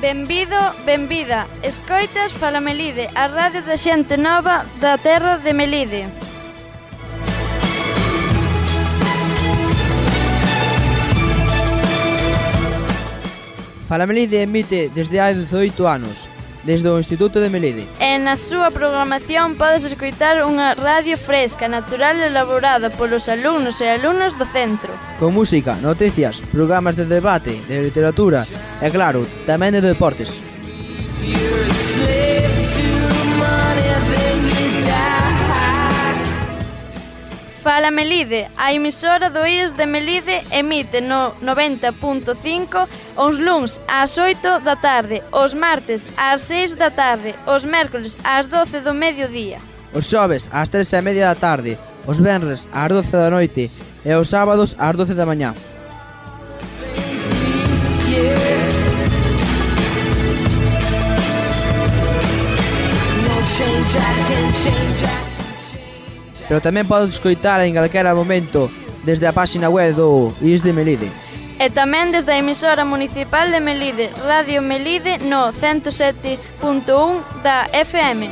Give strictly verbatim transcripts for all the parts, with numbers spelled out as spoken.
Benvido, benvida. Escoitas Fala Melide, a radio da xente nova da terra de Melide. Fala Melide emite desde hai dezoito anos, desde o Instituto de Melide. E na súa programación podes escoitar unha radio fresca, natural e elaborada polos alumnos e alumnas do centro. Con música, noticias, programas de debate, de literatura e, claro, tamén de deportes. Fala Melide, a emisora do I E S de Melide emite no noventa punto cinco os luns ás oito da tarde, os martes ás seis da tarde, os mércoles ás doce do mediodía. Os xoves ás tres e media da tarde, os venres ás doce da noite e os sábados ás doce da mañá. Pero tamén podes escoitar en calquera momento desde a páxina web do I E S de Melide. E tamén desde a emisora municipal de Melide, Radio Melide no ciento sete punto un da F M.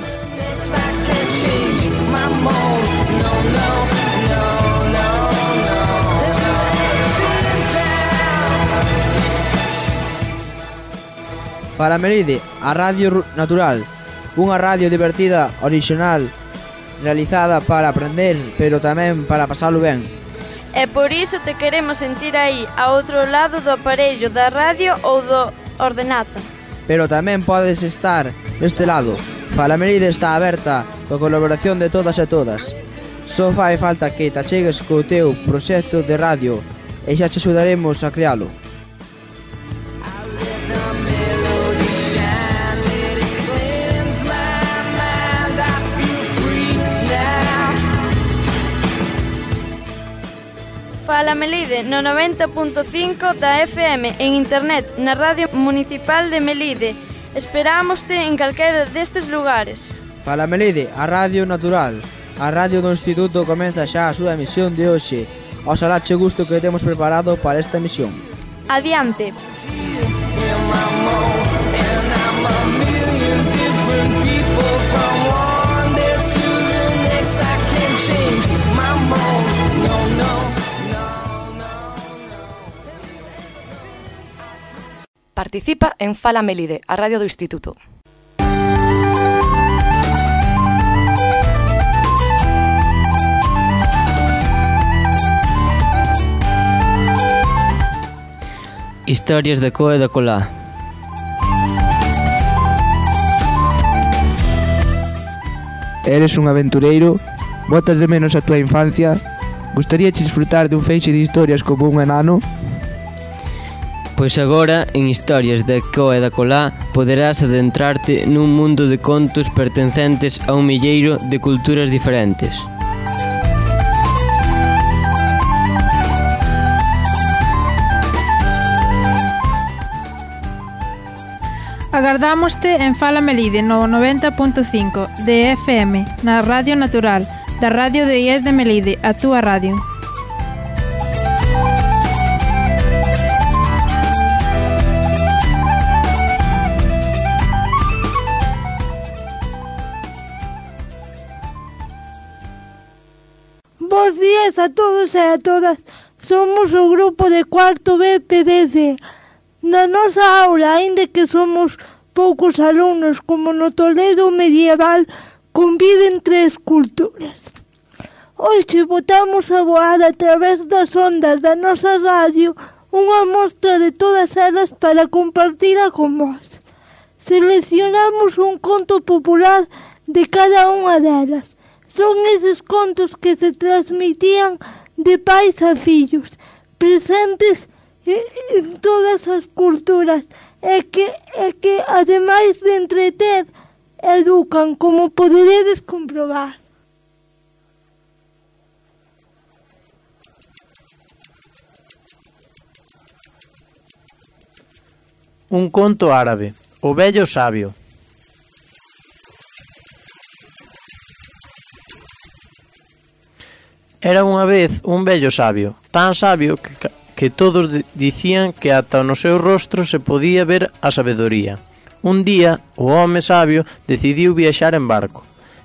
Fala Melide, a radio natural, unha radio divertida, orixinal, realizada para aprender, pero tamén para pasalo ben. E por iso te queremos sentir aí, a outro lado do aparello da radio ou do ordenata. Pero tamén podes estar deste lado. Fala Melide está aberta coa colaboración de todas e todas. Só fai falta que te achegues co teu proxecto de radio e xa te axudaremos a crealo. Fala Melide no noventa punto cinco da F M en internet na Radio Municipal de Melide. Esperámoste en calquera destes lugares. Fala Melide, a radio natural. A radio do Instituto comeza xa a súa emisión de hoxe. Oxalá che gusto que temos preparado para esta emisión. Adiante. Participa en Fala Melide, a radio do Instituto. Historias de Coa e da Colá. Eres un aventureiro? Botas de menos a tua infancia? Gustaríache disfrutar dun feixe de historias como un enano? Pois agora, en Historias de Coa e da Colá, poderás adentrarte nun mundo de contos pertencentes a un milleiro de culturas diferentes. Agardámoste en Fala Melide no noventa punto cinco de F M, na Radio Natural, da radio de I E S de Melide, a túa radio. Bos días a todos e a todas. Somos o grupo de cuarto B P D C. Na nosa aula, aínda que somos poucos alumnos como no Toledo medieval, conviven tres culturas. Hoxe botamos a voar a través das ondas da nosa radio unha mostra de todas elas para compartila con vós. Seleccionamos un conto popular de cada unha delas. Son eses contos que se transmitían de pais a fillos, presentes en todas as culturas, e que, e que ademais de entreter, educan, como poderedes comprobar. Un conto árabe, o vello sabio. Era unha vez un vello sabio, tan sabio que, que todos dicían que ata no seu rostro se podía ver a sabedoría. Un día, o home sabio decidiu viaxar en barco,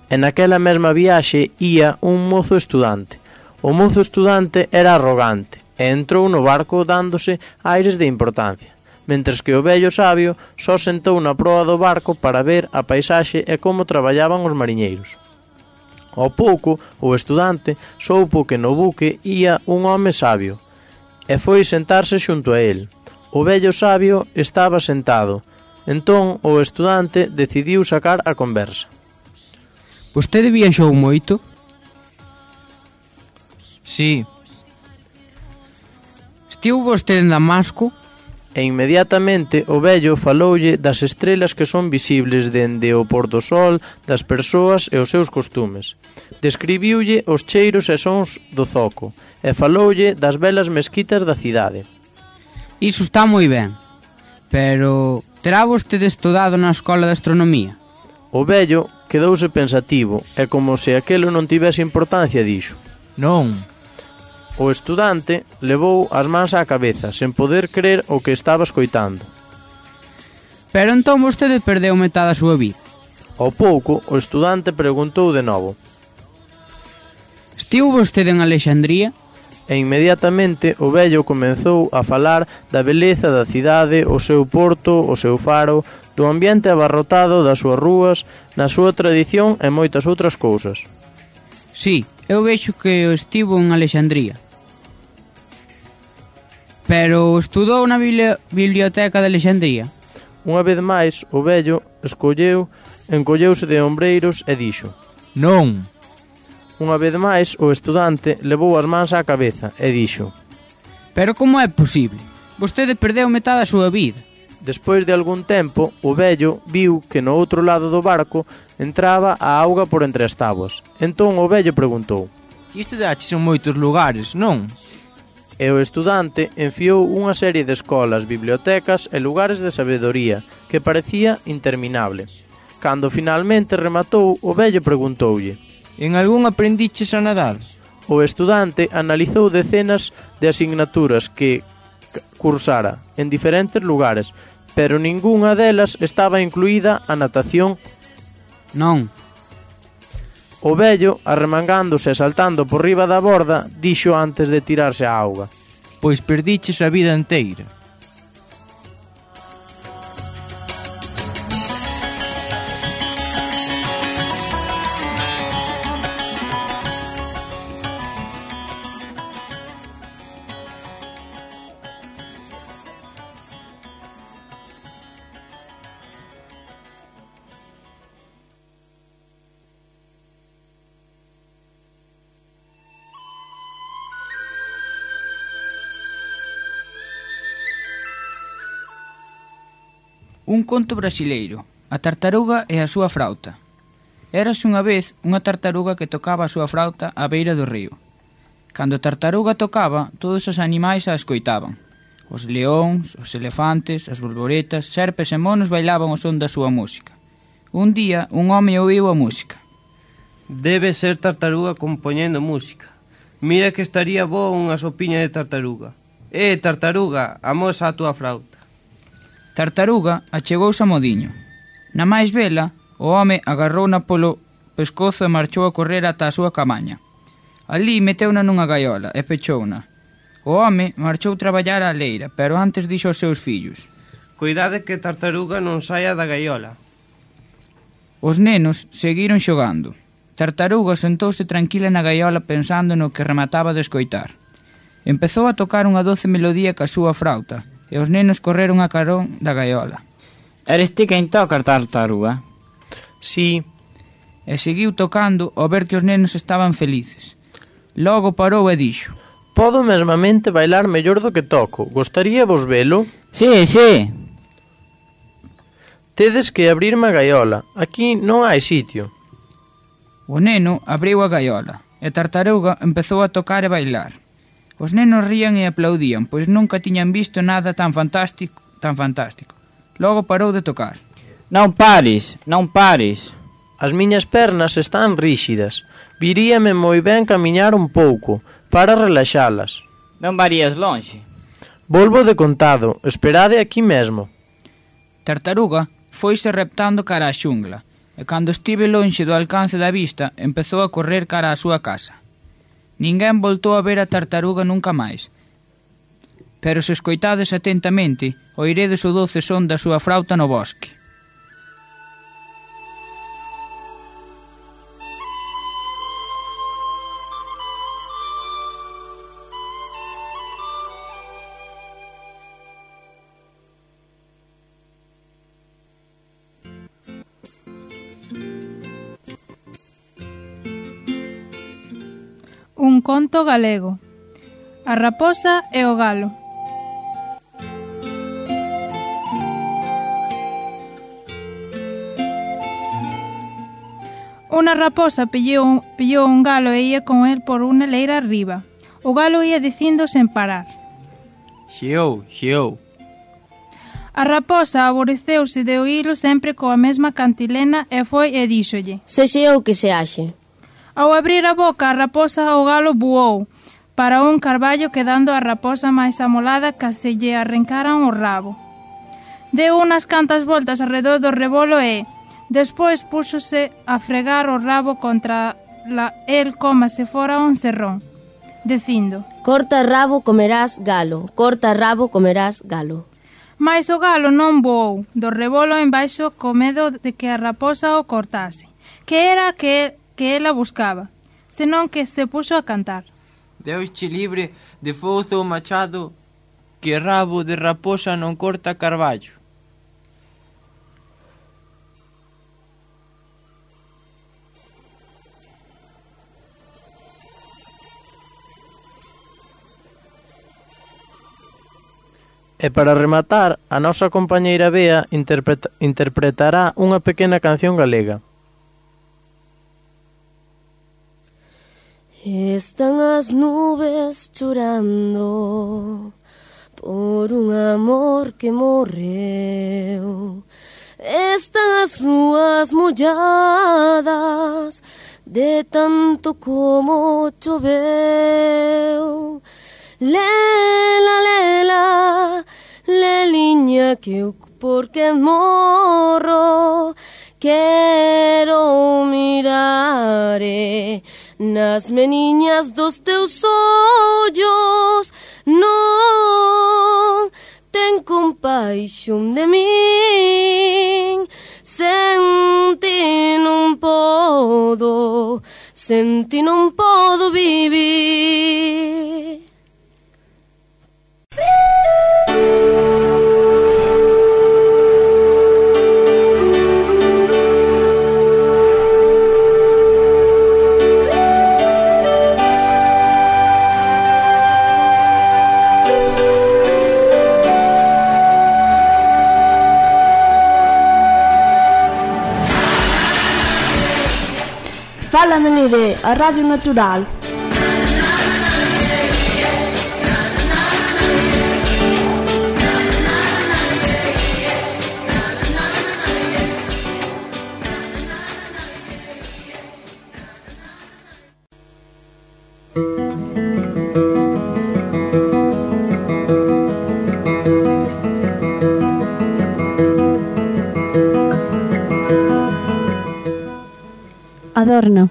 e naquela mesma viaxe ía un mozo estudante. O mozo estudante era arrogante, e entrou no barco dándose aires de importancia, mentres que o vello sabio só sentou na proa do barco para ver a paisaxe e como traballaban os mariñeiros. Ao pouco, o estudante soupo que no buque ía un home sabio, e foi sentarse xunto a el. O vello sabio estaba sentado. Entón, o estudante decidiu sacar a conversa. Vostede viaxou moito? Sí. Estivo vostede en Damasco? E inmediatamente o vello faloulle das estrelas que son visibles dende o pôr do sol, das persoas e os seus costumes. Describiulle os cheiros e sons do zoco, e faloulle das belas mesquitas da cidade. Iso está moi ben, pero terá vostede estudado na escola de astronomía? O vello quedouse pensativo, e como se aquelo non tivese importancia dixo: Non. O estudante levou as mans á cabeza, sen poder crer o que estaba escoitando. Pero entón vostede perdeu metade a súa vida. Ao pouco, o estudante preguntou de novo: Estivo vostede en Alexandría? E inmediatamente o vello comezou a falar da beleza da cidade, o seu porto, o seu faro, do ambiente abarrotado das súas rúas, na súa tradición e moitas outras cousas. Sí, eu vexo que estivo en Alexandría. Pero estudou na biblioteca de Alexandría? Unha vez máis, o vello escolleu, encolleuse de ombreiros e dixo: Non. Unha vez máis, o estudante levou as mans á cabeza e dixo: Pero como é posible? Vostede perdeu metade a súa vida. Despois de algún tempo, o vello viu que no outro lado do barco entraba a auga por entre as táboas. Entón o vello preguntou: Isto daches en moitos lugares, non? E o estudante enfiou unha serie de escolas, bibliotecas e lugares de sabedoría que parecía interminable. Cando finalmente rematou, o vello preguntoulle: En algún aprendiches a nadar? O estudante analizou decenas de asignaturas que cursara en diferentes lugares, pero ningunha delas estaba incluída a natación. Non. O vello, arremangándose e saltando por riba da borda, dixo antes de tirarse á auga: Pois perdiches a vida enteira. Un conto brasileiro, a tartaruga e a súa frauta. Érase unha vez unha tartaruga que tocaba a súa frauta á beira do río. Cando a tartaruga tocaba, todos os animais a escoitaban. Os leóns, os elefantes, as borboretas, serpes e monos bailaban o son da súa música. Un día, un home ouviu a música. Debe ser tartaruga compoñendo música. Mira que estaría boa unha sopiña de tartaruga. Eh, tartaruga, amosa a túa frauta. Tartaruga achegouse a modiño. Na máis vela, o home agarrouna polo pescozo e marchou a correr ata a súa camaña. Alí meteuna nunha gaiola e pechouna. O home marchou traballar á leira, pero antes dixo aos seus fillos: Cuidade que tartaruga non saia da gaiola. Os nenos seguiron xogando. Tartaruga sentouse tranquila na gaiola pensando no que remataba de escoitar. Empezou a tocar unha doce melodía ca súa frauta, e os nenos correron a carón da gaiola. Eres ti quen toca, tartaruga? Sí. E seguiu tocando ao ver que os nenos estaban felices. Logo parou e dixo: Podo mesmamente bailar mellor do que toco. Gostaría vos velo? Sí, sí. Tedes que abrirme a gaiola. Aquí non hai sitio. O neno abriu a gaiola e a tartaruga empezou a tocar e bailar. Os nenos rían e aplaudían, pois nunca tiñan visto nada tan fantástico, tan fantástico. Logo parou de tocar. Non pares, non pares. As miñas pernas están ríxidas. Viríame moi ben camiñar un pouco, para relaxalas. Non varías lonxe. Volvo de contado, esperade aquí mesmo. Tartaruga foise reptando cara á xungla, e cando estive lonxe do alcance da vista, empezou a correr cara á súa casa. Ninguén voltou a ver a tartaruga nunca máis, pero se escoitades atentamente, oiredes o doce son da súa frauta no bosque. Un conto galego. A raposa e o galo. Unha raposa pillou, pillou un galo e ia con el por unha leira arriba. O galo ia dicindo sen parar: Xeou, xeou. A raposa aborreceuse de oílo sempre coa mesma cantilena e foi e díxolle: Se xeou que se haxe. Ao abrir a boca, a raposa o galo voou para un carballo, quedando a raposa máis amolada que se lle arrancaran o rabo. Deu unas cantas voltas alrededor do rebolo e, despois, púxose a fregar o rabo contra la, el coma se fora un serrón, dicindo: Corta rabo, comerás galo. Corta rabo, comerás galo. Mais o galo non voou do rebolo embaixo co medo de que a raposa o cortase, que era que que ela buscaba, senón que se puxo a cantar: Deusche libre de fouzo o machado, que rabo de raposa non corta carballo. E para rematar, a nosa compañeira Bea interpreta, interpretará unha pequena canción galega. Están as nubes chorando por un amor que morreu. Están as rúas molladas de tanto como choveu. Lela, lela, leliña que eu porque morro quero mirare nas meniñas dos teus ollos, non ten compaixón de min, senti non podo, senti non podo vivir. Fala Melide, a Radio Natural. Adorno.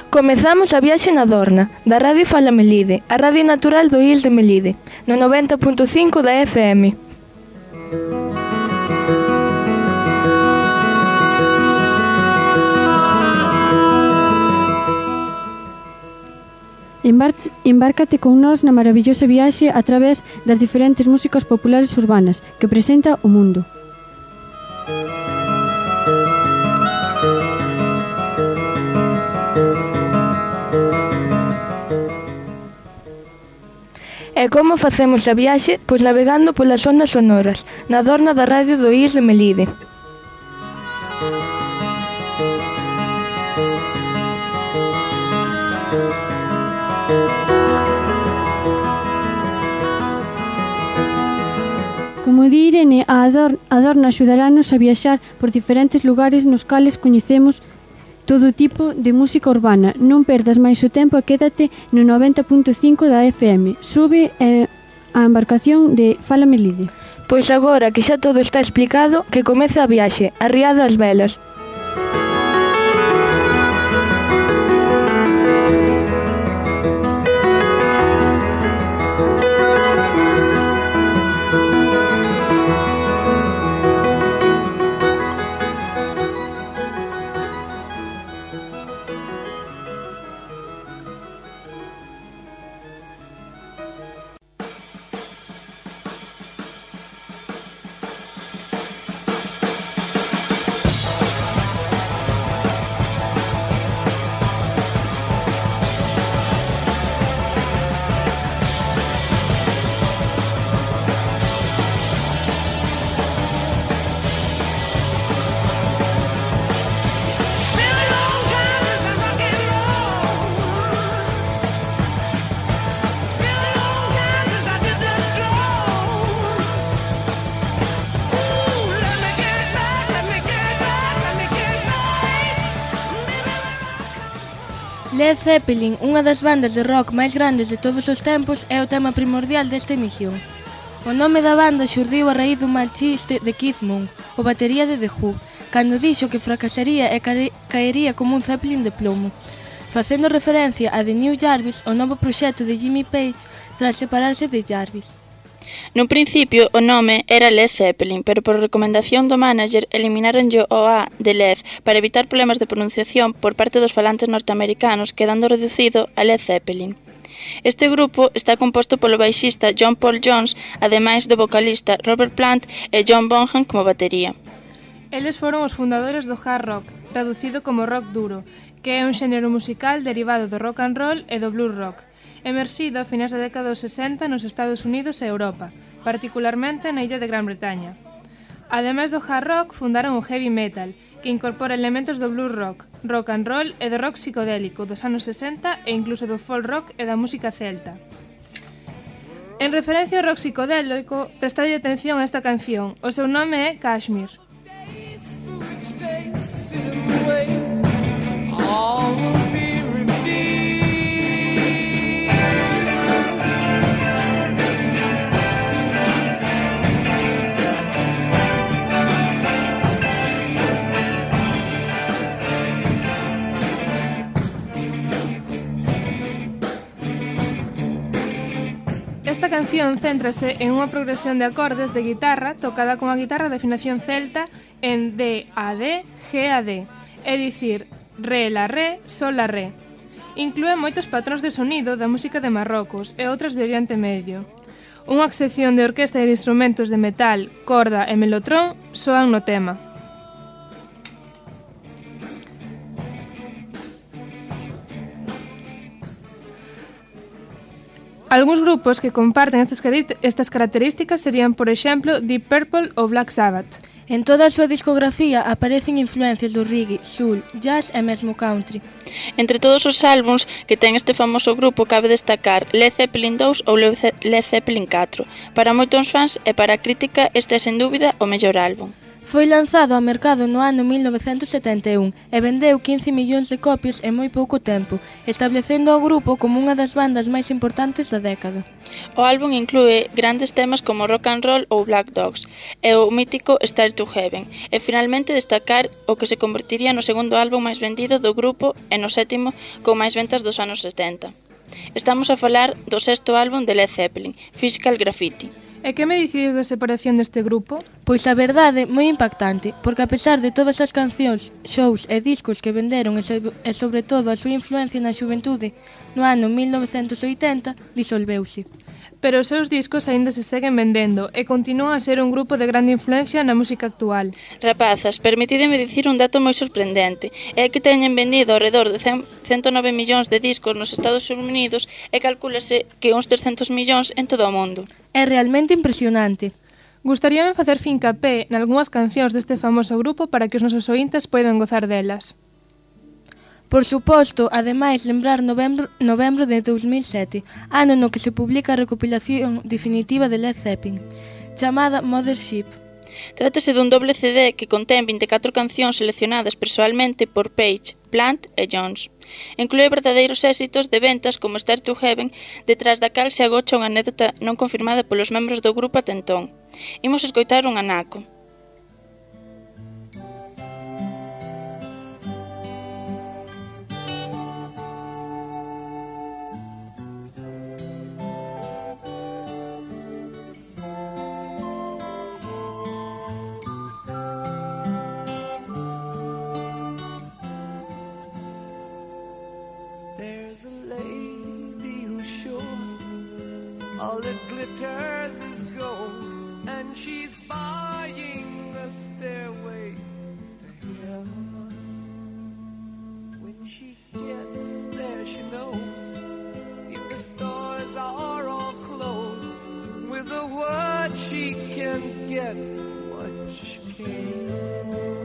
Comezamos a viaxe na Adorna, da Radio Fala Melide, a Radio Natural do I E S de Melide, no noventa punto cinco da F M. Embárcate con nós na maravillosa viaxe a través das diferentes músicas populares urbanas que presenta o mundo. E como facemos a viaxe? Pois navegando polas ondas sonoras, na Adorna da Radio do I E S de Melide. Como di Irene, a Adorna axudarános a viaxar por diferentes lugares nos cales coñecemos todo tipo de música urbana. Non perdas máis o tempo e quédate no noventa punto cinco da F M. Sube eh, a embarcación de Fala Melide. Pois agora que xa todo está explicado, que comece a viaxe, arriado ás velas. Led Zeppelin, unha das bandas de rock máis grandes de todos os tempos, é o tema primordial desta emisión. O nome da banda xurdiu a raíz dun mal chiste de Keith Moon, o batería de The Who, cando dixo que fracasaría e caería como un Zeppelin de plomo, facendo referencia a The New Jarvis, o novo proxecto de Jimmy Page tras separarse de Jarvis. Nun principio o nome era Led Zeppelin, pero por recomendación do manager eliminaronlle o A de Led para evitar problemas de pronunciación por parte dos falantes norteamericanos, quedando reducido a Led Zeppelin. Este grupo está composto polo baixista John Paul Jones, ademais do vocalista Robert Plant e John Bonham como batería. Eles foron os fundadores do hard rock, traducido como rock duro, que é un xénero musical derivado do rock and roll e do blues rock, emerxido a finais da década dos sesenta nos Estados Unidos e Europa, particularmente na illa de Gran Bretaña. Ademais do hard rock, fundaron o heavy metal, que incorpora elementos do blues rock, rock and roll e do rock psicodélico dos anos sesenta e incluso do folk rock e da música celta. En referencia ao rock psicodélico, prestade atención a esta canción. O seu nome é Kashmir. Esta canción céntrase en unha progresión de acordes de guitarra tocada con a guitarra de afinación celta en D a D, G a D, é dicir, Re la Re, Sol la Re. Inclúe moitos patróns de sonido da música de Marrocos e outras de Oriente Medio. Unha sección de orquesta e de instrumentos de metal, corda e melotrón soan no tema. Algúns grupos que comparten estas, estas características serían, por exemplo, Deep Purple ou Black Sabbath. En toda a súa discografía aparecen influencias do reggae, soul, jazz e mesmo country. Entre todos os álbums que ten este famoso grupo cabe destacar Led Zeppelin dous ou Led Zeppelin catro. Para moitos fans e para a crítica este é sen dúbida o mellor álbum. Foi lanzado ao mercado no ano mil novecentos setenta e un e vendeu quince millóns de copias en moi pouco tempo, establecendo o grupo como unha das bandas máis importantes da década. O álbum inclúe grandes temas como Rock and Roll ou Black Dogs e o mítico Stairway to Heaven, e finalmente destacar o que se convertiría no segundo álbum máis vendido do grupo e no sétimo con máis ventas dos anos setenta. Estamos a falar do sexto álbum de Led Zeppelin, Physical Graffiti. E que me dicides da separación deste grupo? Pois a verdade, moi impactante, porque a pesar de todas as cancións, shows e discos que venderon e, so, e sobre todo a súa influencia na xuventude, no ano mil novecentos oitenta, disolveuse. Pero os seus discos aínda se seguen vendendo e continúan a ser un grupo de grande influencia na música actual. Rapazas, permitideme dicir un dato moi sorprendente. É que teñen vendido ao redor de ciento nove millóns de discos nos Estados Unidos e calcúlase que uns trescentos millóns en todo o mundo. É realmente impresionante. Gustaríame facer fincapé nalgúnas cancións deste famoso grupo para que os nosos ointes poidan gozar delas. Por suposto, ademais, lembrar novembro, novembro de dos mil sete, ano no que se publica a recopilación definitiva de Led Zeppelin, chamada Mothership. Trátase dun doble C D que contén vinte e catro cancións seleccionadas persoalmente por Page Plant e Jones. Inclúe verdadeiros éxitos de ventas como Stair to Heaven, detrás da cal se agocha unha anécdota non confirmada polos membros do grupo ata entón. Imos escoitar un anaco. All that glitters is gold, and she's buying a stairway to heaven. When she gets there, she knows if the stores are all closed, with a word she can get what she came for.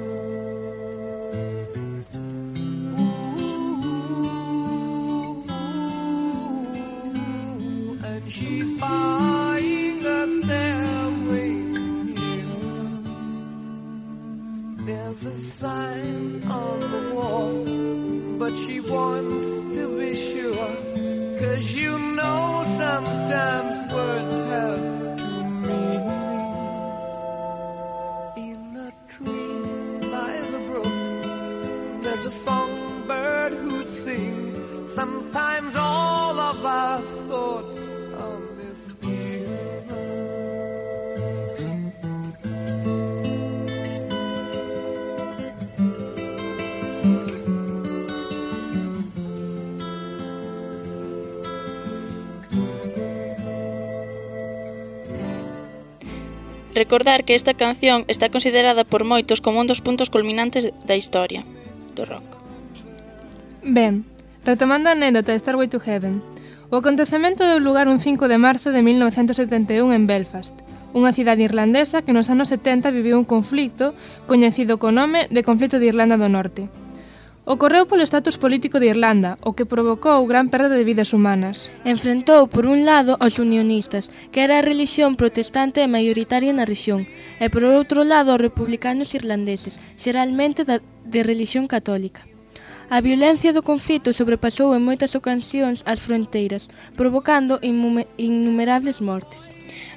She's buying a stairway here. There's a sign on the wall, but she wants to be sure, 'cause you know sometimes words have two meanings. In a tree by the brook, there's a songbird who sings. Sometimes all of our thoughts Recordar que esta canción está considerada por moitos como un dos puntos culminantes da historia do rock. Ben, retomando a anécdota de Stairway to Heaven, o acontecemento deu lugar un cinco de marzo de mil novecentos setenta e un en Belfast, unha cidade irlandesa que nos anos setenta viviu un conflicto coñecido co nome de Conflito de Irlanda do Norte. Ocorreu polo estatus político de Irlanda, o que provocou gran perda de vidas humanas. Enfrentou, por un lado, aos unionistas, que era a religión protestante e maioritaria na rexión, e por outro lado aos republicanos irlandeses, xeralmente de religión católica. A violencia do conflito sobrepasou en moitas ocasións as fronteiras, provocando innumerables mortes.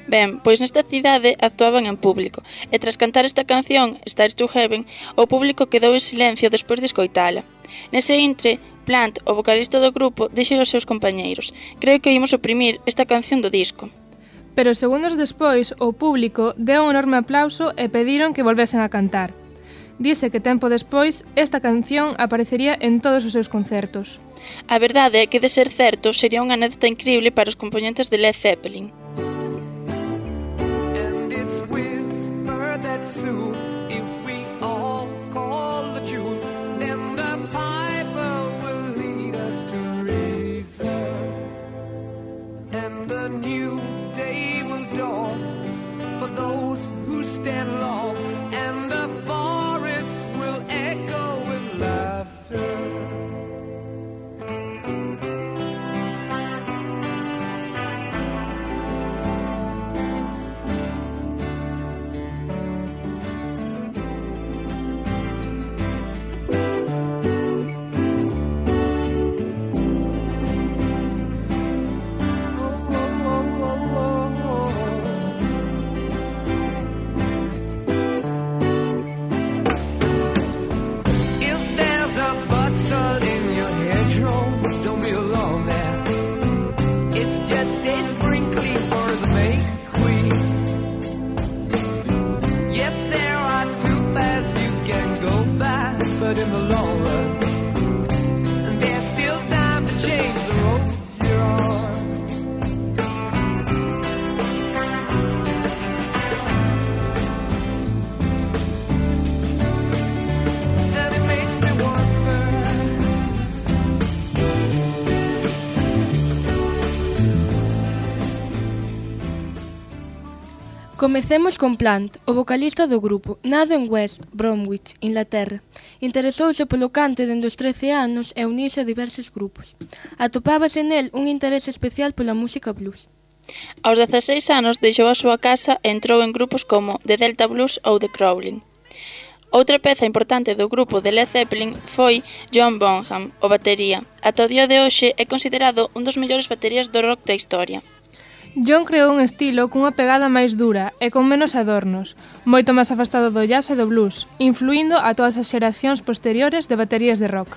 Ben, pois nesta cidade actuaban en público, e tras cantar esta canción, Stair to Heaven, o público quedou en silencio despois de escoitala. Nese intre, Plant, o vocalista do grupo, dixo aos seus compañeiros: "Creo que oímos oprimir esta canción do disco." Pero segundos despois, o público deu un enorme aplauso e pediron que volvesen a cantar. Dise que tempo despois, esta canción aparecería en todos os seus concertos. A verdade é que, de ser certo, sería unha anécdota increíble para os componentes de Led Zeppelin. That soon, if we all call the tune, then the piper will lead us to reason, and a new day will dawn for those who stand long, and the forests will echo with laughter. But in the long run, and there's still time to change the road you're on. And it makes me wonder. Comecemos con Plant, o vocalista do grupo, nado en West Bromwich, Inglaterra. Interesouse polo cante dende os trece anos e uniuse a diversos grupos. Atopábase nel un interese especial pola música blues. Aos dezaseis anos deixou a súa casa e entrou en grupos como The Delta Blues ou The Crawling. Outra peza importante do grupo de Led Zeppelin foi John Bonham, o batería. Ata o día de hoxe é considerado un dos mellores baterías do rock da historia. John creou un estilo cunha pegada máis dura e con menos adornos, moito máis afastado do jazz e do blues, influindo a todas as xeracións posteriores de baterías de rock.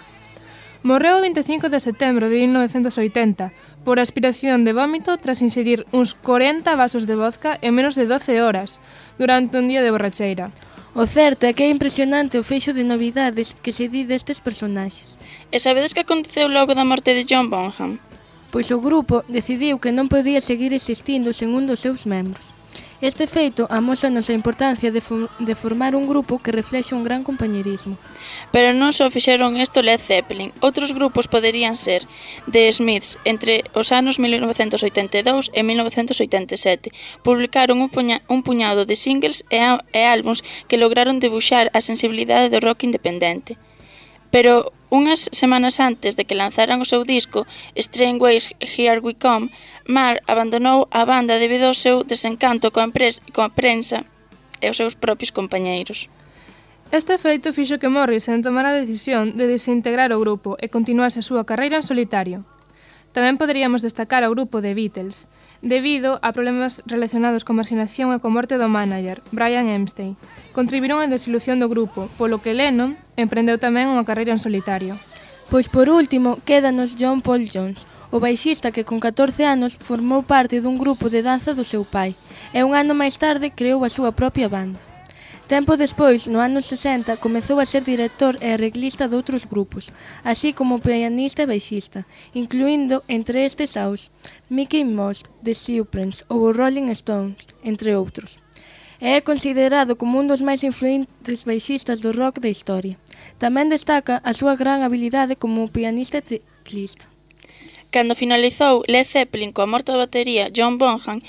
Morreu o vinte e cinco de setembro de mil novecentos oitenta por aspiración de vómito tras inserir uns corenta vasos de vodka en menos de doce horas durante un día de borracheira. O certo é que é impresionante o feixo de novidades que se di destes personaxes. E sabedes que aconteceu logo da morte de John Bonham? Pois o grupo decidiu que non podía seguir existindo sen un dos seus membros. Este feito amósanos a importancia de, fo de formar un grupo que reflexe un gran compañerismo. Pero non só fixeron isto Led Zeppelin, outros grupos poderían ser The Smiths entre os anos mil novecentos oitenta e dous e mil novecentos oitenta e sete. Publicaron un, puña un puñado de singles e, e álbums que lograron debuxar a sensibilidade do rock independente. Pero unhas semanas antes de que lanzaran o seu disco Strangeways Here We Come, Marr abandonou a banda debido ao seu desencanto coa, coa prensa e os seus propios compañeiros. Este feito fixo que Morrison tomara a decisión de desintegrar o grupo e continuase a súa carreira en solitario. Tamén poderíamos destacar ao grupo de Beatles, debido a problemas relacionados con marxinación e con morte do manager, Brian Epstein. Contribuíron á desilusión do grupo, polo que Lennon emprendeu tamén unha carreira en solitario. Pois por último, quédanos John Paul Jones, o baixista que con catorce anos formou parte dun grupo de danza do seu pai, e un ano máis tarde creou a súa propia banda. Tempo despois, no ano sesenta, comezou a ser director e arreglista doutros grupos, así como pianista e baixista, incluindo entre estes aos Mickey Mouse, The Supremes ou Rolling Stones, entre outros. E é considerado como un dos máis influentes baixistas do rock da historia. Tamén destaca a súa gran habilidade como pianista e teclista. Cando finalizou Led Zeppelin coa morte da batería John Bonham,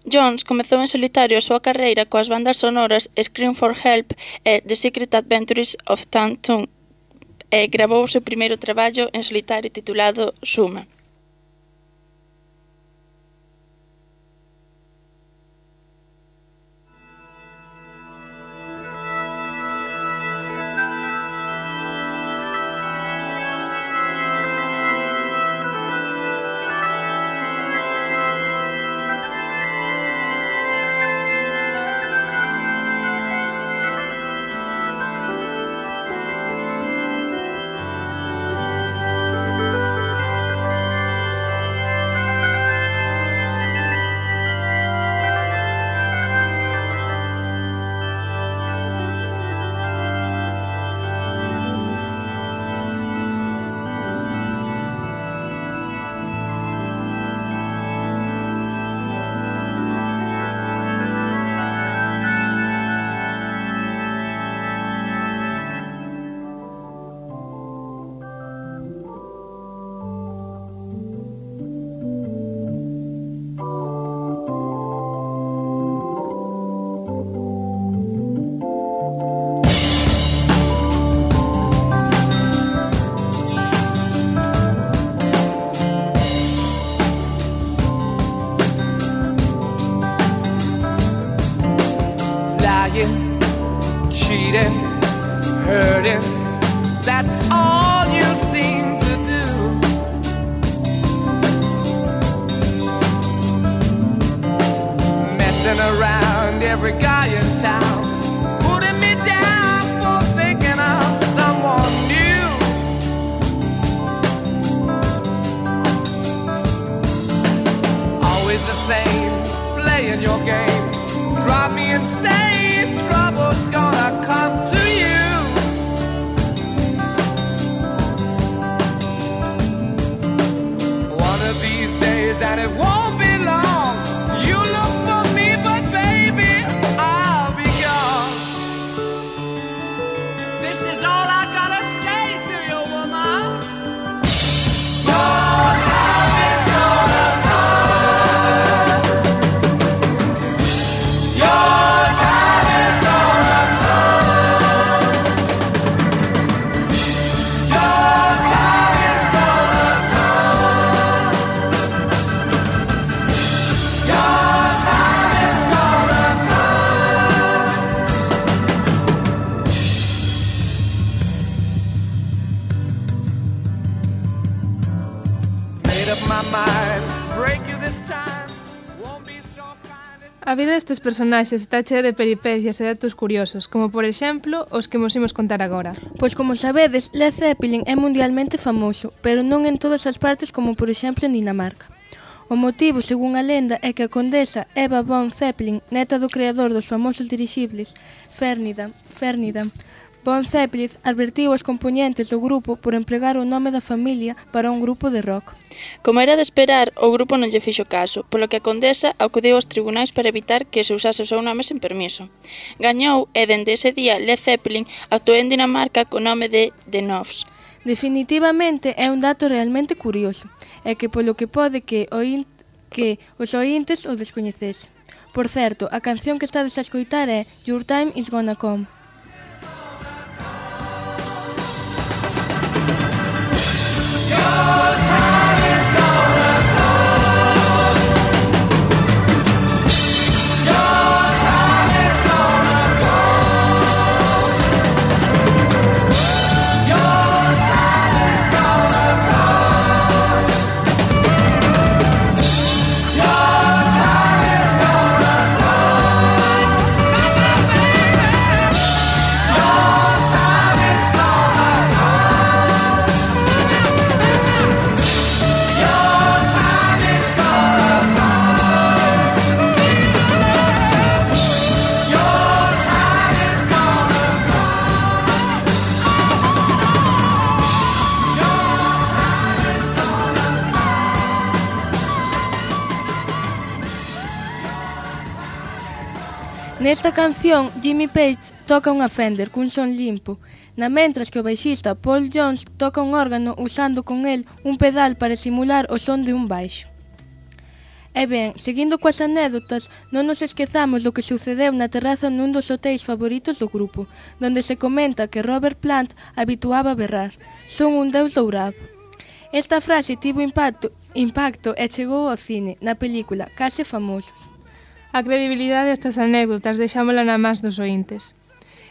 Jones comezou en solitario a súa carreira coas bandas sonoras Scream for Help e The Secret Adventures of Tom Thumb e gravou o seu primeiro traballo en solitario titulado Suma. Cheating, hurting, that's all you seem to do. Messing around every guy in town, putting me down for thinking of someone new. Always the same, playing your game, drive me insane, trouble's gonna come to you. One of these days, and it won't be long, you look for me, but baby, I'll be gone. This is all I gotta say to you, woman. Your time is gonna come. Your time A vida destes personaxes está chea de peripecias e datos curiosos, como por exemplo os que mos imos contar agora. Pois como sabedes, Led Zeppelin é mundialmente famoso, pero non en todas as partes como por exemplo en Dinamarca. O motivo, según a lenda, é que a condesa Eva von Zeppelin, neta do creador dos famosos dirixibles Ferdinand, Ferdinand von Zeppelin, advertiu aos componentes do grupo por empregar o nome da familia para un grupo de rock. Como era de esperar, o grupo non lle fixo caso, polo que a condesa acudiu aos tribunais para evitar que se usase o seu nome sen permiso. Gañou e dende ese día Led Zeppelin actuou en Dinamarca co nome de The Knobs. Definitivamente é un dato realmente curioso, e que polo que pode que, oin, que os ointes o descoñecesen. Por certo, a canción que estades a escoitar é Your Time Is Gonna Come. Nesta canción, Jimmy Page toca unha Fender cun son limpo, na mentras que o baixista Paul Jones toca un órgano usando con el un pedal para simular o son de un baixo. E ben, seguindo coas anécdotas, non nos esquezamos do que sucedeu na terraza nun dos hotéis favoritos do grupo, donde se comenta que Robert Plant habituaba a berrar: "Son un deus dourado". Esta frase tivo impacto, impacto e chegou ao cine, na película Case Famosos. A credibilidade destas anécdotas deixámola na más dos ointes.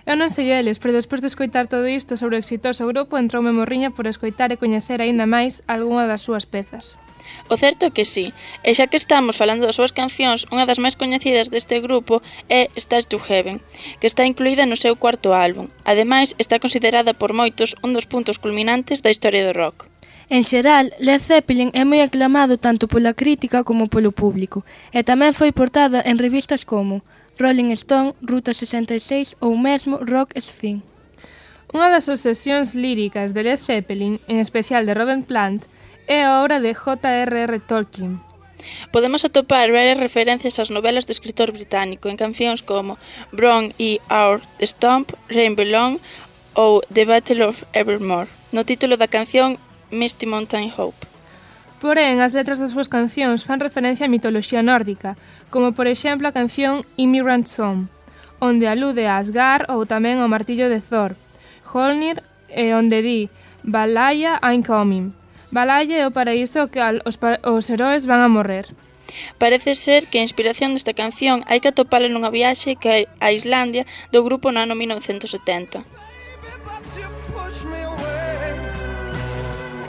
Eu non sei eles, pero despois de escoitar todo isto sobre o exitoso grupo, entroume morriña por escoitar e coñecer aínda máis algunha das súas pezas. O certo é que sí, e xa que estamos falando das súas cancións, unha das máis coñecidas deste grupo é Stars to Heaven, que está incluída no seu cuarto álbum. Ademais, está considerada por moitos un dos puntos culminantes da historia do rock. En xeral, Led Zeppelin é moi aclamado tanto pola crítica como polo público, e tamén foi portada en revistas como Rolling Stone, Ruta sesenta e seis ou mesmo Rock Spin. Unha das obsesións líricas de Led Zeppelin, en especial de Robert Plant, é a obra de J R R Tolkien. Podemos atopar varias referencias ás novelas do escritor británico en cancións como Bron e Our Stomp, Rainbow Long ou The Battle of Evermore, no título da canción Misty Mountain Hope. Porén, as letras das súas cancións fan referencia á mitoloxía nórdica, como por exemplo a canción Immigrant Song, onde alude a Asgard ou tamén ao martillo de Thor, Holnir, e onde di Valhalla I'm coming. Valhalla é o paraíso ao que os, os heróis van a morrer. Parece ser que a inspiración desta canción hai que atopala nunha viaxe que a Islandia do grupo no ano mil novecentos setenta.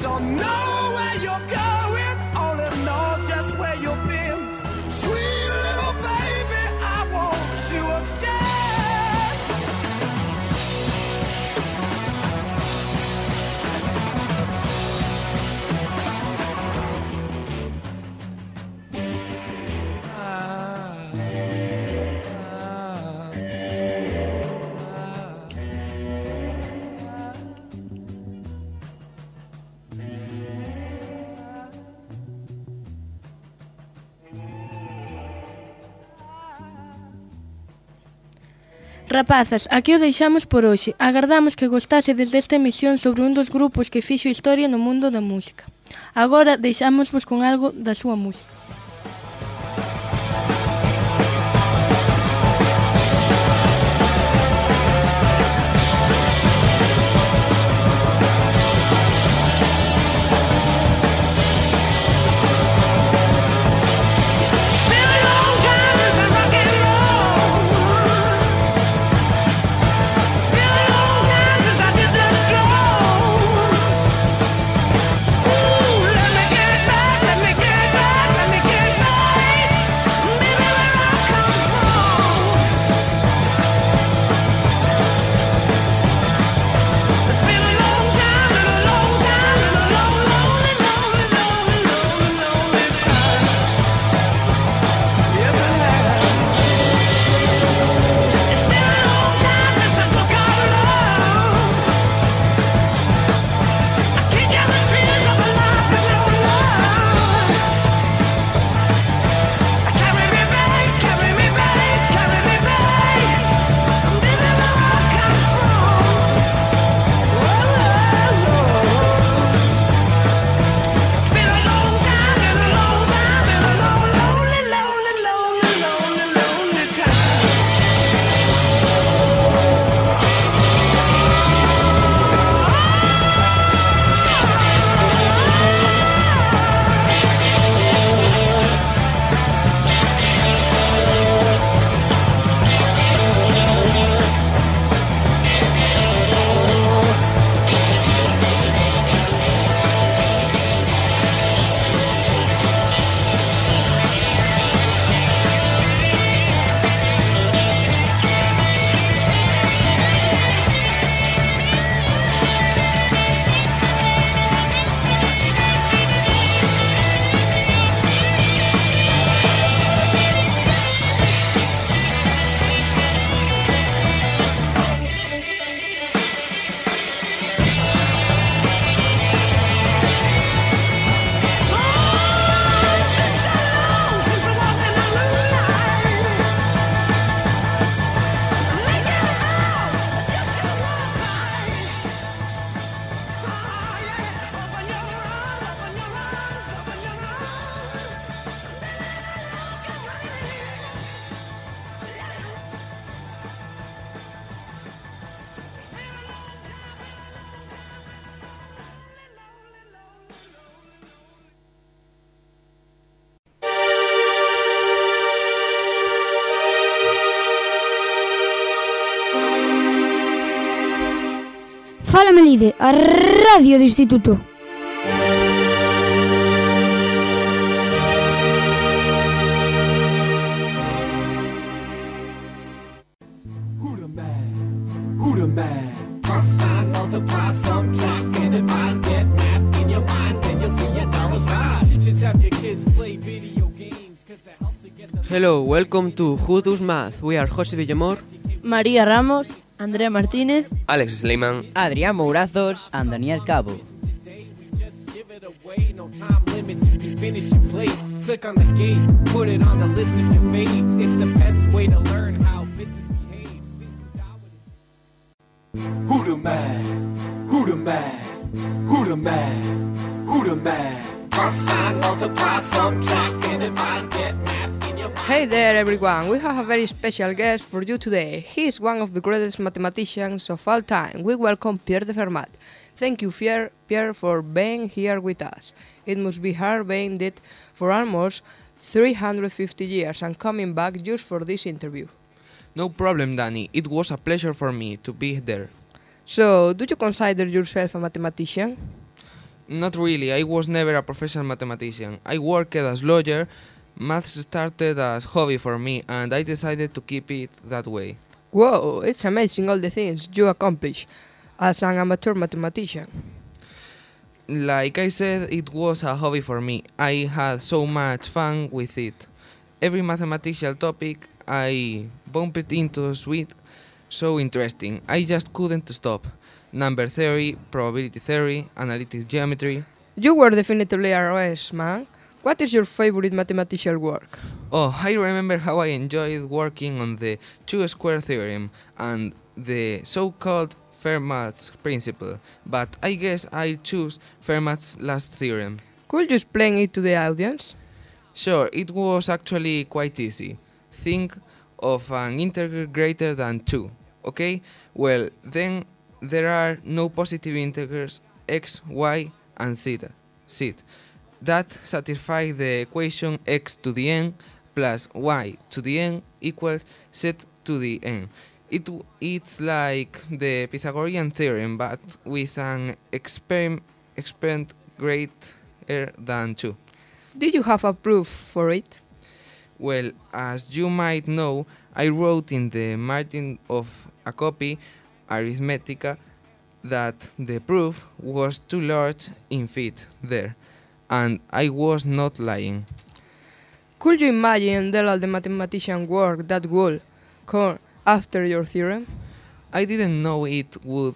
Don't know where you're going, only know just where you've been. Sweet little baby, I want you again. Ah, ah, Rapazas, aquí o deixamos por hoxe. Agardamos que gostasedes desta emisión sobre un dos grupos que fixo historia no mundo da música. Agora deixámosvos con algo da súa música. Let me get back, let me get back, let me get Fala Melide, a radio do Instituto. Who the man? Who the man? Cross sign, multiply, subtract, and if I get math in your mind, then you'll see a dollar smile. Teachers have your kids play video games, cause it helps to get them. Hello, welcome to Who Does Math. We are José Villamor, María Ramos, Andrea Martínez, Alex Sleiman, Adrián Mourazos and Daniel Cabo. No time limits, you can finish your plate. Click on the gate, put it on the list of your faves. It's the best way to learn how business behaves. Who the man? Who the man? Who the man? Who the man? Cross sign, multiply, subtract, and if I get math in your mind. Hey there everyone, we have a very special guest for you today. He is one of the greatest mathematicians of all time. We welcome Pierre de Fermat. Thank you, Pierre, Pierre, for being here with us. It must be hard being dead for almost three hundred fifty years and coming back just for this interview. No problem, Danny. It was a pleasure for me to be there. So, do you consider yourself a mathematician? Not really. I was never a professional mathematician. I worked as a lawyer. Maths started as a hobby for me, and I decided to keep it that way. Whoa, it's amazing all the things you accomplish as an amateur mathematician. Like I said, it was a hobby for me. I had so much fun with it. Every mathematical topic I bumped into was so interesting. I just couldn't stop. Number theory, probability theory, analytic geometry. You were definitely a race man. What is your favorite mathematical work? Oh, I remember how I enjoyed working on the two-square theorem and the so-called Fermat's principle, but I guess I choose Fermat's last theorem. Could you explain it to the audience? Sure, it was actually quite easy. Think of an integer greater than two, okay? Well, then there are no positive integers x, y, and z, z. That satisfies the equation x to the n plus y to the n equals z to the n. It, it's like the Pythagorean theorem, but with an experiment, experiment greater than two. Did you have a proof for it? Well, as you might know, I wrote in the margin of a copy, Arithmetica, that the proof was too large in feet there, and I was not lying. Could you imagine the all the mathematician work that would come after your theorem? I didn't know it would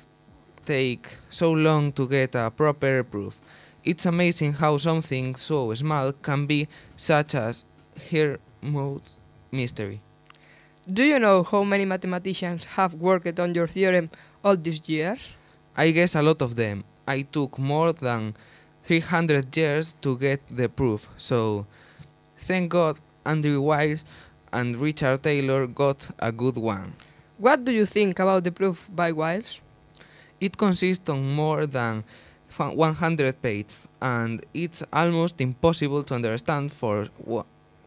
take so long to get a proper proof. It's amazing how something so small can be such as Hermode's mystery. Do you know how many mathematicians have worked on your theorem all these years? I guess a lot of them. I took more than three hundred years to get the proof, so thank God Andrew Wiles and Richard Taylor got a good one. What do you think about the proof by Wiles? It consists of more than one hundred pages, and it's almost impossible to understand for,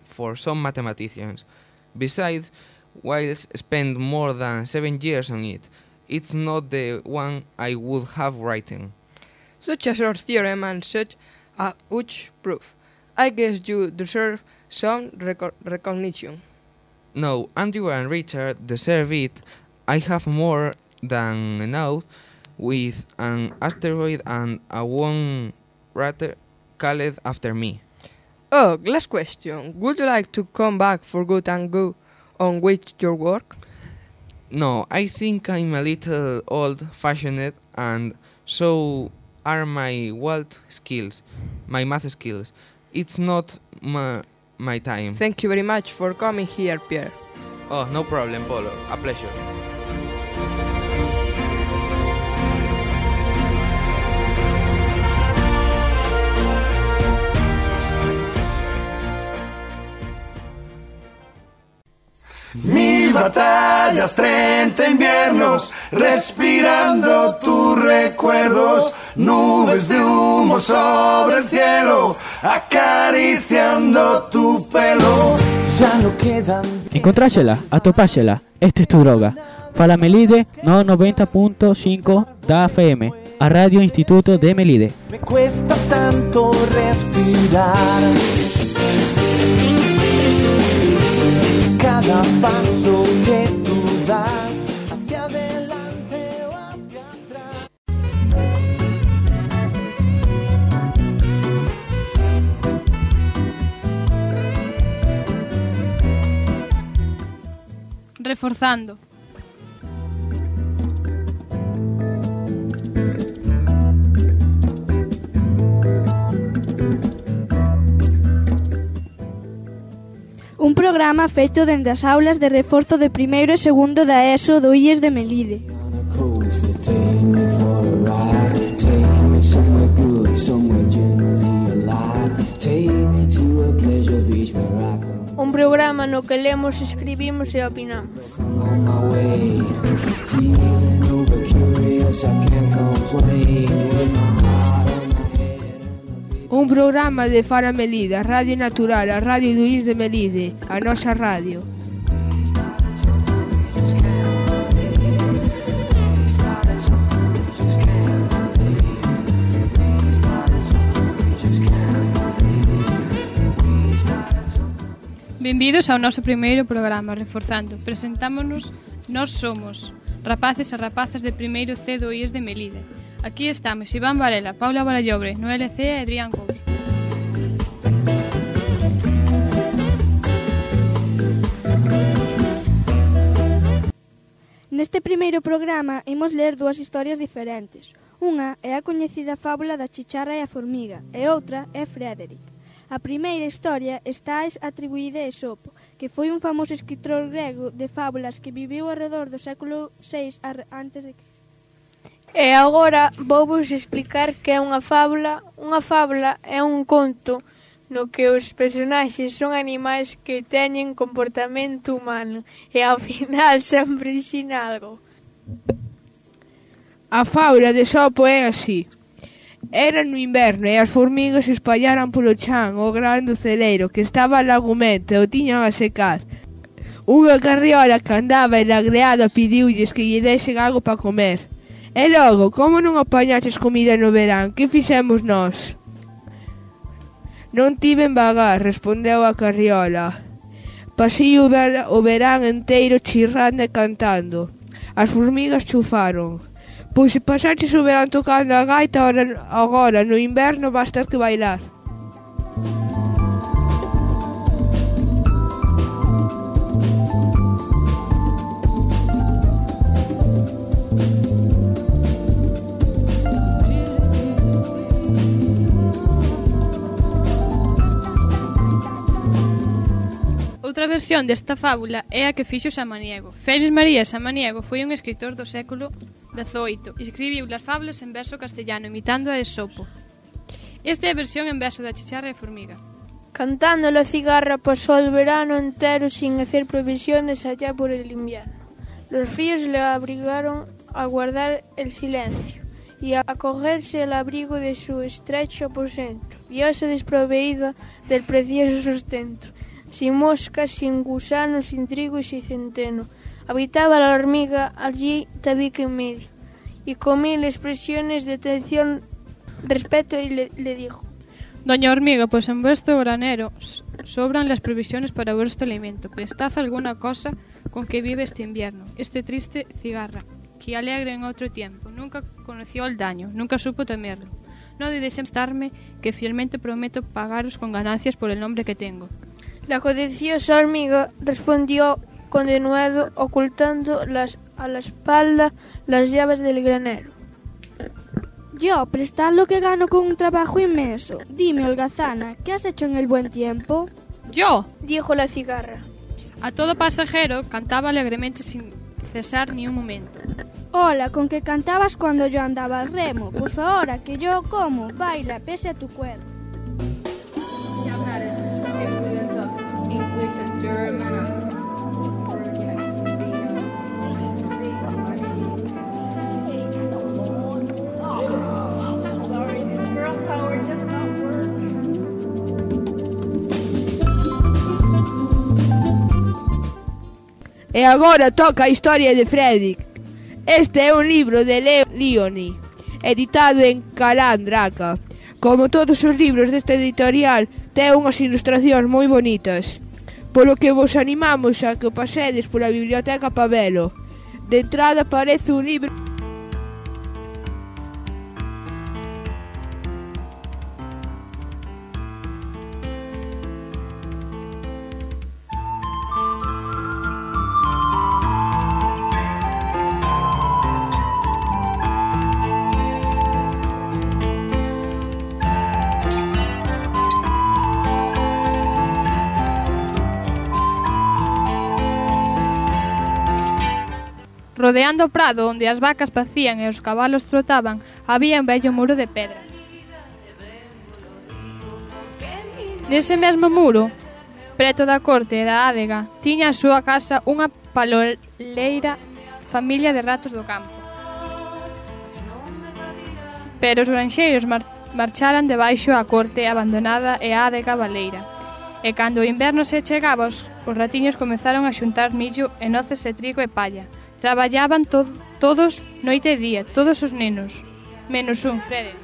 for some mathematicians. Besides, Wiles spent more than seven years on it. It's not the one I would have written. Such a short theorem and such a huge proof. I guess you deserve some reco- recognition. No, Andrew and Richard deserve it. I have more than enough with an asteroid and a one rater called after me. Oh, last question. Would you like to come back for good and go on with your work? No, I think I'm a little old-fashioned, and so are my wild skills, my math skills. It's not my, my time. Thank you very much for coming here, Pierre. Oh, no problem, Polo. A pleasure. Mil batallas, treinta inviernos, respirando tus recuerdos, nubes de humo sobre el cielo, acariciando tu pelo. Ya no quedan. Encontrásela, atopásela, esta es tu droga. Fala Melide no noventa punto cinco da F M, a Radio Instituto de Melide. Me cuesta tanto respirar. Cada paso que tú das hacia adelante o hacia atrás. Reforzando. Un programa feito dende as aulas de reforzo de primeiro e segundo da ESO do I E S de Melide. Un programa no que lemos, escribimos e opinamos. Un programa de Fala Melide, a Radio Natural, a Radio do I E S de Melide, a nosa radio. Benvidos ao noso primeiro programa, Reforzando. Presentámonos, nós somos rapaces e rapazas de primeiro C do I E S de Melide. Aquí estamos Iván Varela, Paula Barallobre, Noel C e Adrián Couso. Neste primeiro programa imos ler dúas historias diferentes. Unha é a coñecida fábula da chicharra e a formiga e outra é Frederick. A primeira historia está atribuída a Esopo, que foi un famoso escritor grego de fábulas que viviu arredor do século seis antes de Cristo. E agora vouvos explicar que é unha fábula. Unha fábula é un conto no que os personaxes son animais que teñen comportamento humano e ao final sempre ensina algo. A fábula de Esopo é así. Era no inverno e as formigas se espallaran polo chan o gran do celeiro que estaba lagumento e o tiñan a secar. Unha carriola que andaba enagreada pidiulles que lle desen algo para comer. E logo, como non apañaches comida no verán, que fixemos nós? Non tiven vagar, respondeu a carriola. Pasei o, ver, o verán enteiro chirrando e cantando. As formigas chufaron. Pois se pasaches o verán tocando a gaita, agora no inverno vas ter que bailar. Outra versión desta fábula é a que fixo Samaniego. Félix María Samaniego foi un escritor do século dezoito e escribiu as fábulas en verso castellano imitando a Esopo. Esta é a versión en verso da chicharra e formiga. Cantando la cigarra pasó el verano entero sin hacer provisiones allá por el invierno. Los fríos le obligaron a guardar el silencio y a acogerse al abrigo de su estrecho aposento. Viose desproveída del precioso sustento. Sin moscas, sin gusanos, sin trigo y sin centeno. Habitaba la hormiga allí tabique en medio. Y con mil expresiones de atención, respeto, y le, le dijo: Doña hormiga, pues en vuestro granero sobran las provisiones para vuestro alimento. Prestad alguna cosa con que vive este invierno, este triste cigarra, que alegre en otro tiempo. Nunca conoció el daño, nunca supo temerlo. No debéis estarme, que fielmente prometo pagaros con ganancias por el nombre que tengo. La codiciosa hormiga respondió con denuedo, ocultando las, a la espalda las llaves del granero. Yo, prestar lo que gano con un trabajo inmenso. Dime, holgazana, ¿qué has hecho en el buen tiempo? Yo, dijo la cigarra. A todo pasajero cantaba alegremente sin cesar ni un momento. Hola, con que cantabas cuando yo andaba al remo. Pues ahora que yo como, baila, pese a tu cuerpo. E agora toca a historia de Frederick. Este é un libro de Leo Lionni, editado en Calandraca. Como todos os libros deste editorial, ten unhas ilustracións moi bonitas, polo que vos animamos a que o pasedes pola biblioteca pa velo. De entrada parece un libro... Rodeando o prado onde as vacas pacían e os cabalos trotaban, había un vello muro de pedra. Nese mesmo muro, preto da corte e da adega, tiña a súa casa unha paloleira familia de ratos do campo. Pero os granxeiros mar marcharan debaixo a corte abandonada e a adega baleira. E cando o inverno se chegaba, os, os ratiños comezaron a xuntar millo e noces e trigo e palla. Traballaban to todos noite e día, todos os nenos, menos un, Frederick.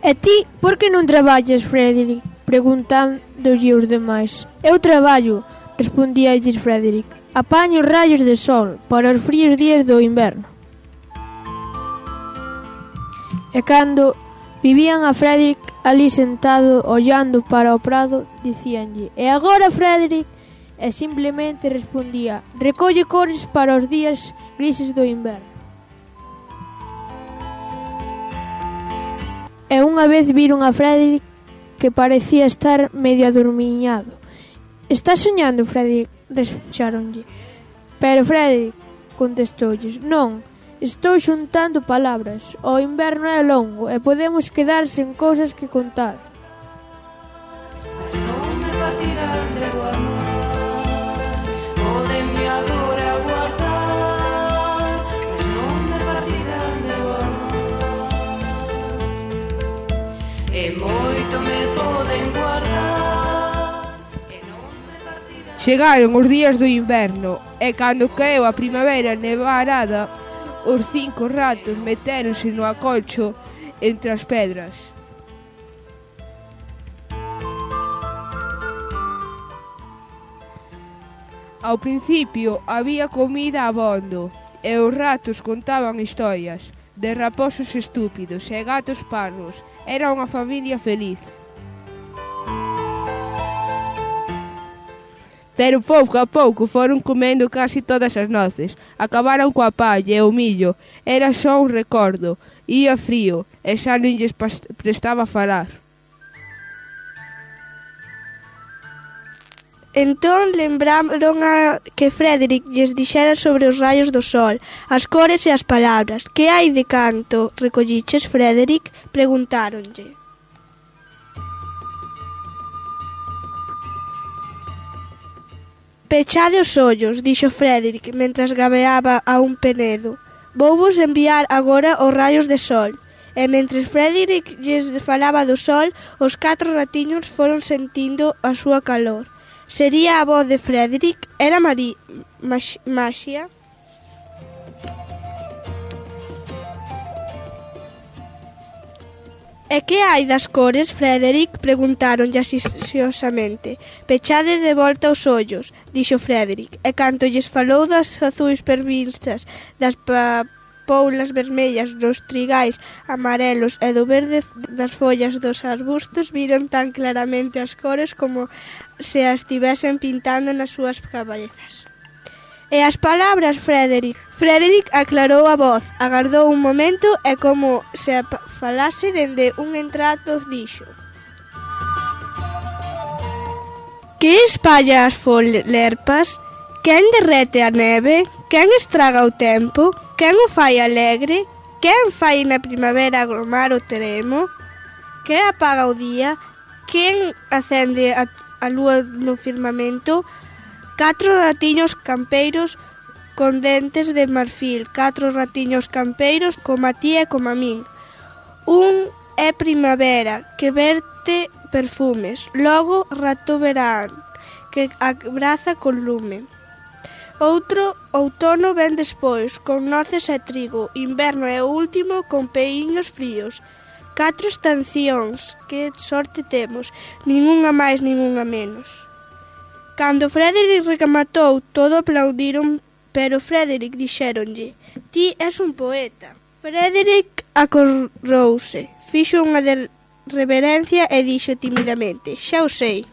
E ti, por que non traballas, Frederick? Preguntándolle os demais. Eu traballo, respondíalles Frederick. Apaño os rayos de sol para os fríos días do inverno. E cando vivían a Frederick ali sentado ollando para o prado, dicíanlle: "E agora, Frederick?" E simplemente respondía: "Recolle cores para os días grises do inverno." E unha vez viron a Frederick que parecía estar medio adormiñado. "Estás soñando, Frederick?" rexáronlle. Pero Frederick contestoulles: "Non, estou xuntando palabras. O inverno é longo e podemos quedar sen cousas que contar." Chegaron os días do inverno e cando caeu a primavera nevarada, os cinco ratos metéronse no acolcho entre as pedras. Ao principio había comida abondo e os ratos contaban historias de raposos estúpidos e gatos parvos. Era unha familia feliz. Pero pouco a pouco foron comendo casi todas as noces. Acabaron coa palla e o millo. Era só un recordo. Ía frío e xa non lles prestaba falar. Entón lembraron a que Frederick lles dixera sobre os raios do sol, as cores e as palabras. Que hai de canto recolliches, Frederick? Preguntáronlle. Pechade os ollos, dixo Frederick, mentras gabeaba a un penedo. Vouvos enviar agora os raios de sol. E mentres Frederick lles falaba do sol, os catro ratiños foron sentindo a súa calor. Sería a voz de Frederick? Era Mari... Maxia? E que hai das cores, Frederick? Preguntaronlle asisiosamente. Pechade de volta os ollos, dixo Frederick, e canto lles falou das azuis pervinstas, das papoulas vermellas, dos trigais amarelos e do verde das follas dos arbustos, viron tan claramente as cores como se as tivesen pintando nas súas cabezas. E as palabras, Frederick? Frederick aclarou a voz, agardou un momento e como se falase dende un entrato dixo: Que espalla as folerpas? Quen derrete a neve? Quen estraga o tempo? Quen o fai alegre? Quen fai na primavera agromar o teremo? Que apaga o día? Quen acende a, a lúa no firmamento? Catro ratiños campeiros con dentes de marfil, catro ratiños campeiros coma ti e coma min. Un é primavera, que verte perfumes. Logo, rato verán, que abraza con lume. Outro, outono ven despois, con noces e trigo. Inverno é o último, con peiños fríos. Catro estacións, que sorte temos, ningunha máis, ningunha menos. Cando Frederick rematou, todo aplaudiron, pero Frederick dixéronlle: ti és un poeta. Frederick acorrouse, fixo unha de reverencia e dixo timidamente: xa o sei.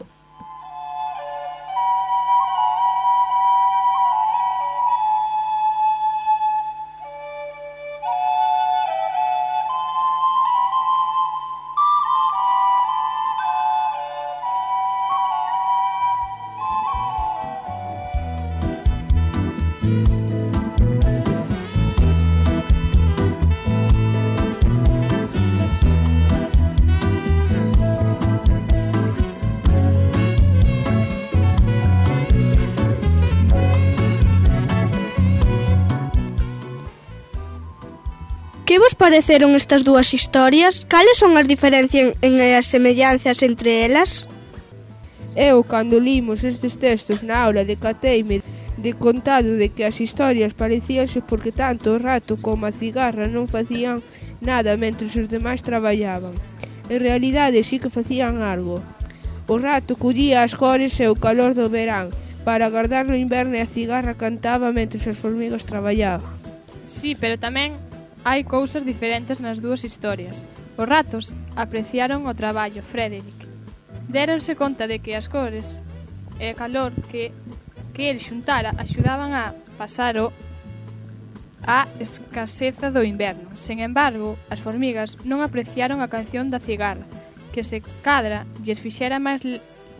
Que vos pareceron estas dúas historias? Cales son as diferencias e as semellanzas entre elas? Eu, cando limos estes textos na aula, decateime de contado de que as historias parecíanse porque tanto o rato como a cigarra non facían nada mentre os demais traballaban. En realidade sí que facían algo. O rato collía as cores e o calor do verán para agardar no inverno e a cigarra cantaba mentre as formigas traballaban. Sí, pero tamén hai cousas diferentes nas dúas historias. Os ratos apreciaron o traballo, Frederick. Déronse conta de que as cores e o calor que, que el xuntara axudaban a pasar o a escaseza do inverno. Sen embargo, as formigas non apreciaron a canción da cigarra, que se cadra lles fixera máis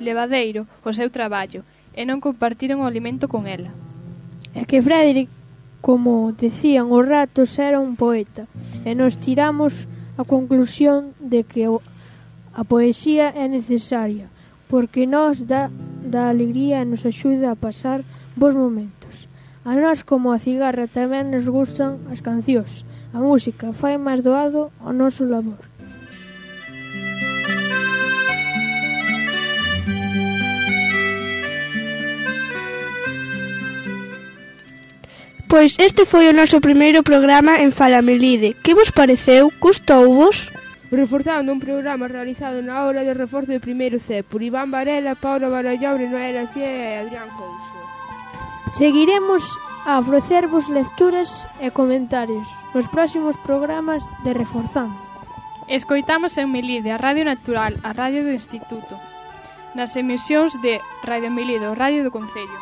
levadeiro o seu traballo, e non compartiron o alimento con ela. É que Frederick, como decían os ratos, era un poeta, e nos tiramos a conclusión de que a poesía é necesaria, porque nos dá, dá alegría e nos axuda a pasar bons momentos. A nós, como a cigarra, tamén nos gustan as cancións. A música fai máis doado o noso labor. Pois este foi o noso primeiro programa en Fala Melide. Que vos pareceu? Gustouvos? Reforzando un programa realizado na hora de reforzo de primeiro C por Iván Varela, Paula Barallobre, Noela Cie e Adrián Couso. Seguiremos a ofrecervos lecturas e comentarios nos próximos programas de Reforzando. Escoitamos en Melide, a Radio Natural, a Radio do Instituto, nas emisións de Radio Melide, o Radio do Concello.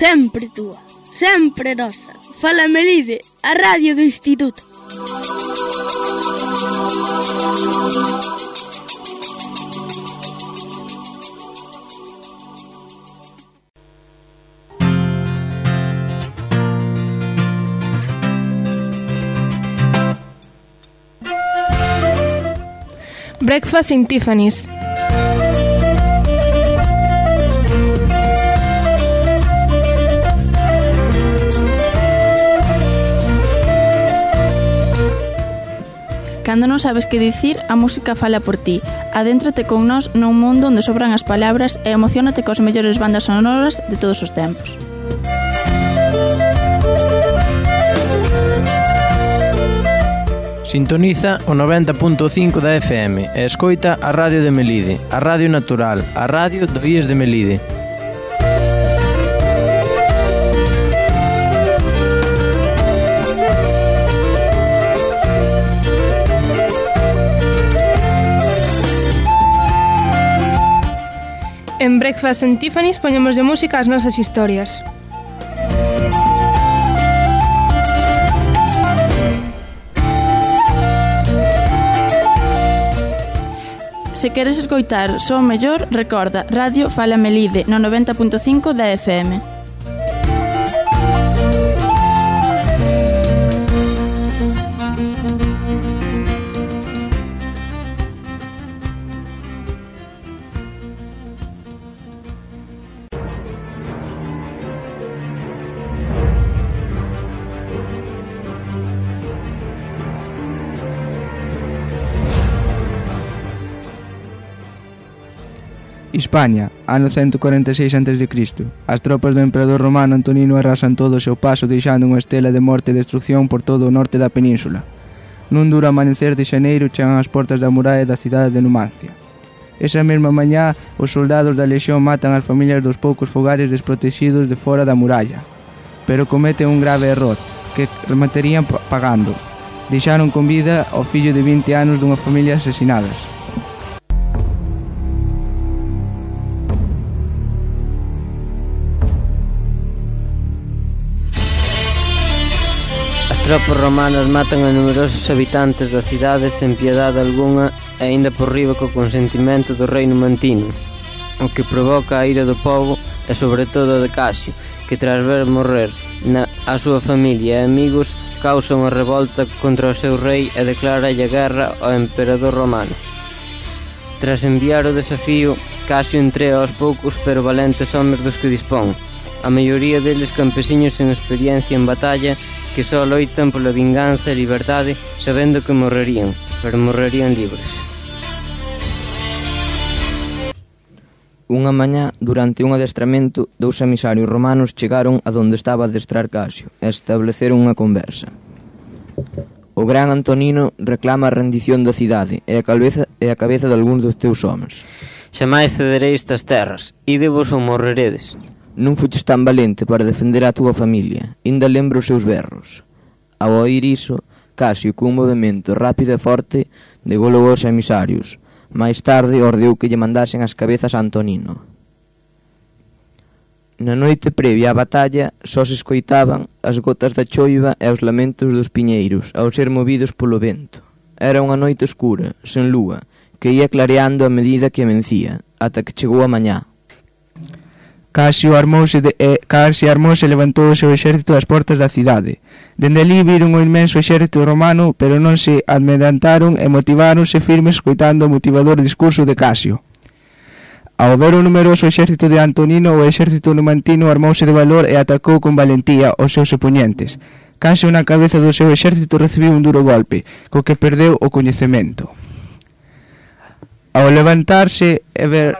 Sempre túa, sempre nosa. Fala Melide, a radio do Instituto. Breakfast in Tiffany's. Cando non sabes que dicir, a música fala por ti. Adéntrate con nós nun mundo onde sobran as palabras e emociónate cos mellores bandas sonoras de todos os tempos. Sintoniza o noventa punto cinco da F M e escoita a Radio de Melide, a Radio Natural, a Radio do I E S de Melide. En Breakfast in Tiffany's poñemos de música as nosas historias. Se queres escoitar só o mellor, recorda Radio Fala Melide no noventa punto cinco da F M. Hispania, ano cento cuarenta e seis antes de Cristo. As tropas do emperador romano Antonino arrasan todo o seu paso deixando unha estela de morte e destrucción por todo o norte da península. Nun duro amanecer de xaneiro chegan as portas da muralla da cidade de Numancia. Esa mesma mañá, os soldados da lexión matan as familias dos poucos fogares desprotegidos de fora da muralla. Pero cometen un grave error, que rematarían pagando. Deixaron con vida ao fillo de vinte anos dunha familia asesinadas. As tropas romanas matan a numerosos habitantes da cidade sen piedade algunha e aínda por riba co consentimento do rei numantino, o que provoca a ira do povo e sobre todo a de Casio, que tras ver morrer na, a súa familia e amigos causa unha revolta contra o seu rei e declara a guerra ao emperador romano. Tras enviar o desafío, Casio entrega aos poucos pero valentes homes dos que dispón, a maioría deles campesiños sen experiencia en batalla que só loitan pola vinganza e liberdade sabendo que morrerían, pero morrerían libres. Unha mañá, durante un adestramento, dous emisarios romanos chegaron a donde estaba a adestrar Casio e estableceron unha conversa. O gran Antonino reclama a rendición da cidade e a cabeza, e a cabeza de algúns dos teus homens. Xamais cedereis estas terras, idevos ou morreredes. Non fuches tan valente para defender a túa familia, inda lembro os seus berros. Ao oír iso, Casio, cun movimento rápido e forte, degolou aos emisarios. Mais tarde ordeou que lle mandasen as cabezas a Antonino. Na noite previa á batalla, só se escoitaban as gotas da choiva e os lamentos dos piñeiros, ao ser movidos polo vento. Era unha noite escura, sen lúa, que ia clareando a medida que amencía, ata que chegou a mañá. Casio armouse, de, eh, Casio armouse e levantou o seu exército ás portas da cidade. Dende ali viron o inmenso exército romano, pero non se amedrentaron e motiváronse firmes escoitando o motivador discurso de Casio. Ao ver o numeroso exército de Antonino, o exército numantino armouse de valor e atacou con valentía os seus oponentes. Casio na cabeza do seu exército recibiu un duro golpe, co que perdeu o coñecemento. Ao levantarse e ver...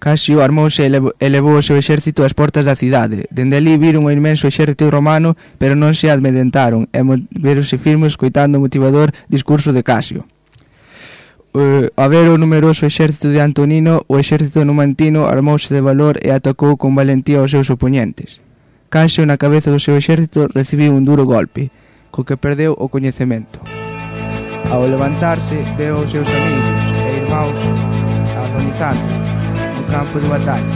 Casio armouse e elevou o seu exército ás portas da cidade. Dende ali viron o inmenso exército romano, pero non se amedrentaron e moveronse firmes escoitando o motivador discurso de Casio. Uh, a ver o numeroso exército de Antonino, o exército numantino armouse de valor e atacou con valentía aos seus oponentes. Casio na cabeza do seu exército recibiu un duro golpe, co que perdeu o coñecemento. Ao levantarse, veo os seus amigos e irmáns agonizando no campo de batalla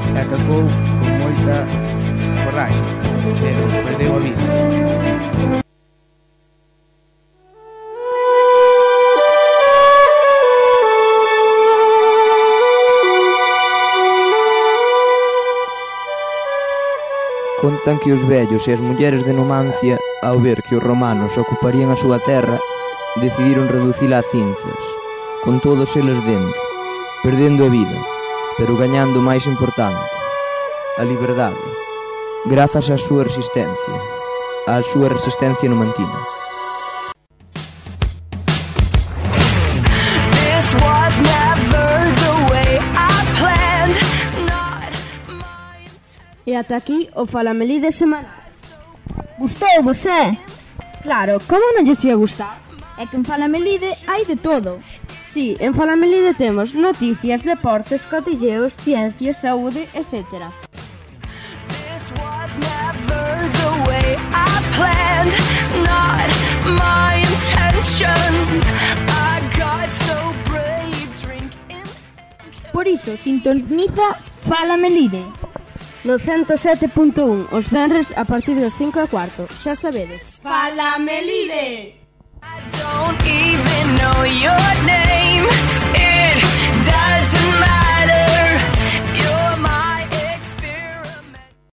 e atacou con moita corraxe, pero perdeu a vida. Contan que os vellos e as mulleres de Numancia, ao ver que os romanos ocuparían a súa terra, decidiron reducila a cinzas, con todos eles dentro, perdendo a vida, pero gañando o máis importante, a liberdade, grazas á súa resistencia, á súa resistencia numantina. This was never the way I planned. E ata aquí o Falamelide semanal. Gustou-vos, eh? Claro, como non lles ia gustar? É que en Falamelide hai de todo. Si, en Falamelide temos noticias, deportes, cotilleos, ciencias, saúde, etcétera. This was never the way I planned. Not my intention. I got so brave drinking. Por iso, sintoniza Falamelide no ciento sete punto un os venres a partir das cinco e cuarto. Xa sabedes. Falamelide. I don't even know. know your name.